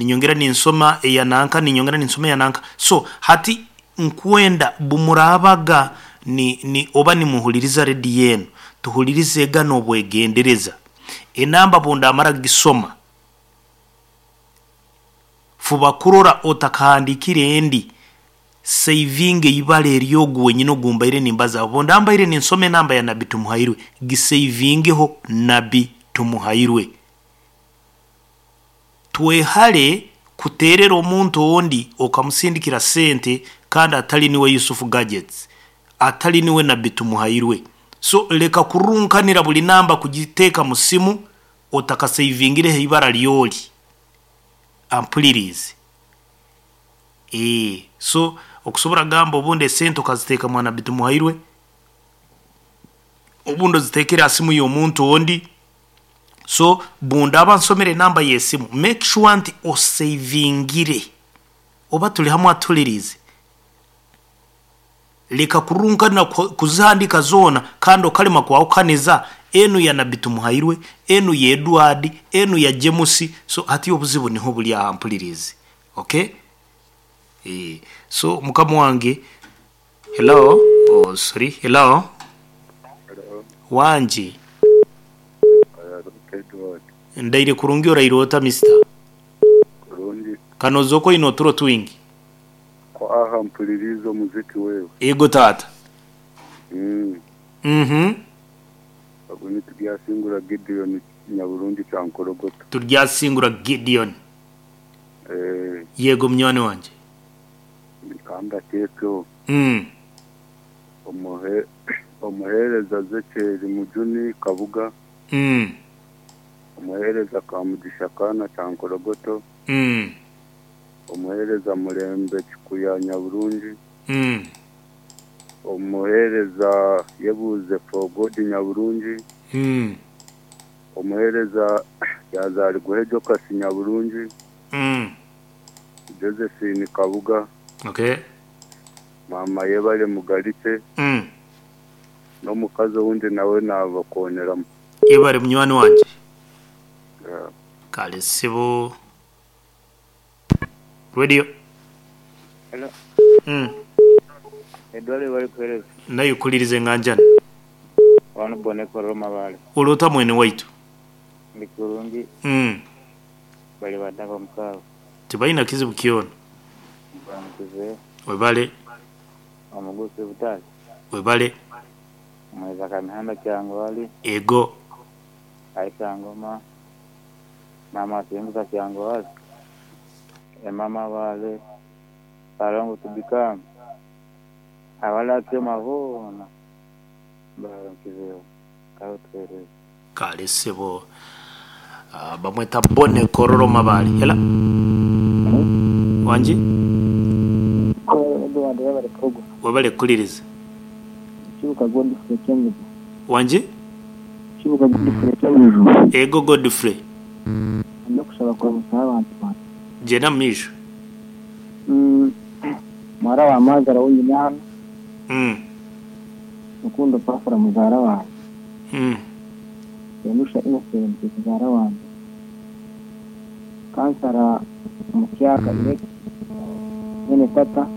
Ninyongera ninsoma eya nanka, ninyongera ninsoma eya nanka. So hati nkwenda bumuraabaga ni, ni, oba nimuhuliriza rediyo enu, tuhulirizega n'obwegendereza. Enamba bundamara kugisoma, fuba kurora otakahandiikire endi, seivinga eibara ery'ogu wenyini ogu mbaire nimbazaho. Bundaba mbaire ninsoma enamba ya Nabbi Tumuhairwe, giseivingeho Nabbi Tumuhairwe. Twehare kuteerera omuntu ondi okamusindikira sente kandi atari niwe Yusuf Gadgets, atari niwe Nabbi Tumuhairwe. So leka kurunkanira buri namba kugiteeka mu simu otakaseivingireho eibara ry'ori ampuririize. Eeh so okusobora kugamba obundi esente okaziteeka mwa Nabbi Tumuhairwe, obundi oziteekere aha simu y'omuntu ondi, So bundaba nsomire enamba y'esimu make sure nti osavingire oba turi hamwe atuhuririize. Reka kurunkanira kuzihandiika zoona kandi okarema kwahukaniza enu ya Nabbi Tumuhairwe, enu ya Edward, enu ya James, so hati obuzibu niho buri aha mpuririize. Okay? Eeh so mukama wange Hello oh sorry hello Hello. Wangi. Araruka Edward. Ndaire kurungi oraire ota Mister? Kurungi. Kanoza oku oine oturo twingi. Ku aha mpuririize omuziki wewe. Ego taata. Mm. Mhm. Ogu ni Turyasingura Gideon Nyaburungi Kyankorogoto. Turyasingura Gideon. Eh. Yego munywani wangye. Ka mbateekeho. Omuheereza Zecheeri Mujuni Kabuga, Omuheereza Kamugisha Kaana Kyankorogoto, Omuheereza Mulembe Kikuya Nyaburungi, Omuheereza Yebuuze Forgod Nyaburungi, Omuheereza Yazariguhe Jokasi Nyaburungi, Josephine Kabuga, Okay. Maama Yebare Mugarikye, n'omukazi owundi nawe naabakooneramu. Yebare munywani wangye. Yeah. Kale ssebo. Radio. Hello. Edward webale kuhereza. Naye kuliriza enganjani. Wano Boneko Roma Mabale. Ori ota mwene waitu? Ndi kurungi. Bari bata ab'omuka abo? Tibaine kizibu kyona. Nkuramukize. Webale. Omugusi Butale. Webale. Omweza Kamihanda Kyangwali. Ego. Aisha Ngoma. Maama Asinguza Kyangwali. Emma Mabale. Kalongo Tubikam. Abalakyoma boona mbaramukizeho. Kale otuheereze. Kale ssebo. Bamweta Bonny Kororo Mabale. Hello. Wangi? Edward webale program. Webale kukuliriza. Kibuka Godfrey Kyenjojo. Wangi? Kibuka Godfrey Kyenjojo. Ego Godfrey. Nda kushaba kuramusaho abantu bangye. Gyenda omu maisho. Muhara wa Mazara ou nyine hanu. Rukundo Pafura muzaara wangye. Enusha Innocent muzaara wangye. Kansara Mutyaka Elect mwene tata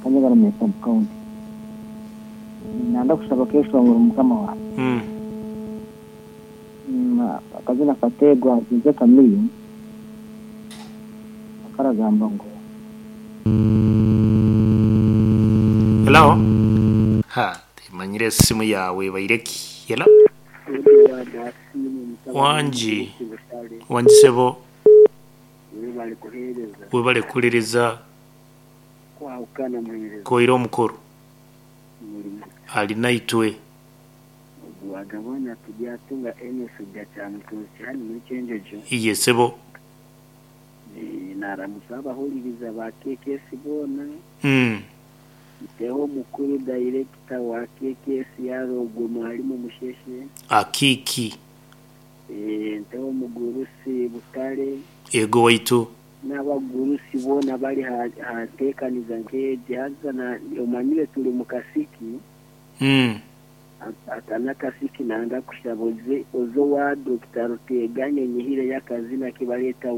Kanyegaramiire sub county. Nanda kushaba keshongoro mukama wangye. Akazina Kateegwa Jose Chameleone akaragamba ngu. Hello. Ha, timanyire esimu yaawe ebaire ki? Hello. Wangi, wangi sebo. Webale kuhuririza. Koire omukuru. Ali naitwe. Iye sebo. Naramutsya abahuririza ba KKS boona. Nteho omukuru dayirekita wa KKS Yarogwe Mwalimu Musheshe. Akiiki. Nteho omugurusi Butare. Eego waitu. N'abagurusi boona abari aha nteekaniza nk'egi. Haza omanyire turi omu kasiki. Aka n'akasiki nanga kushaba oze owa Dokita Ruteeganya onyihireyo akazina aku bareeta.